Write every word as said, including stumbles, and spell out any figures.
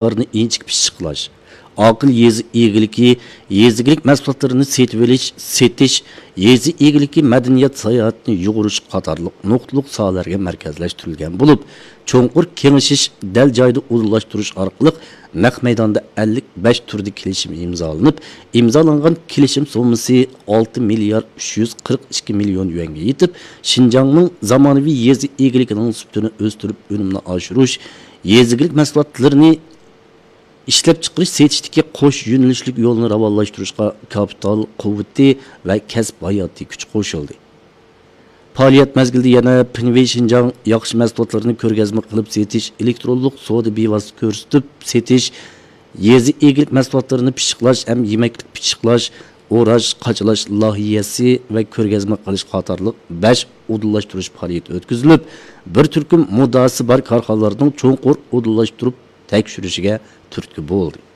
ئىنچىكە پىششىقلاش، ئاقىل يېزا ئىگىلىكى، يېزا ئىگىلىك مەھسۇلاتلىرىنى سېتىۋېلىش، سېتىش، يېزا ئىگىلىكى مەدەنىيەت ساياھەتنى يۇغۇرۇش قاتارلىق نۇقتىلىق ساھەلەرگە مەركەزلەشتۈرۈلگەن بولۇپ، چوڭقۇر كېڭىشىش، دەل جايىدا ئۇدۇللاشتۇرۇش ئارقىلىق نەق مەيداندا ئەللىك بەش تۈردە كېلىشىم ئىمزالىنىپ، ئىمزالانغان كېلىشىم سوممىسى ئالتە مىليارد ئۈچ يۈز قىرىق ئىككى مىليون يۈەنگە يېتىپ، شىنجاڭنىڭ زامانىۋى يېزا ئىگىلىكىنىڭ سۈپىتىنى ئۆستۈرۈپ، ئۈنۈمنى ئاشۇرۇش، يېزا ئىگىلىك مەھسۇلاتلىرىنى ئىشلەپچىقىرىش، سېتىشتىكى قوش يۆنىلىشلىك يولنى راۋانلاشتۇرۇشقا كاپىتال قۇۋۋىتى ۋە كەسىپ ھاياتىي كۈچ قوشۇلدى. پائالىيەت مەزگىلىدە يەنە پىنۋېي شىنجاڭ ياخشى مەھسۇلاتلىرىنى كۆرگەزمە قىلىپ سېتىش، ئېلېكترونلۇق سودا بىۋاسىتە كۆرسىتىپ سېتىش، يېزا ئىگىلىك مەھسۇلاتلىرىنى پىششىقلاش ھەم يېمەكلىك پىششىقلاش، ئوراش، قاچىلاش لايىھەسى ۋە كۆرگەزمە قىلىش قاتارلىق بەش ئۇدۇللاشتۇرۇش پائالىيىتى ئۆتكۈزۈلۈپ، بىر تۈركۈم مۇددىئاسى بار كارخانىلارنىڭ چوڭقۇر ئۇدۇللاشتۇرۇپ تەكشۈرۈشىگە تۈرتكە بولدى.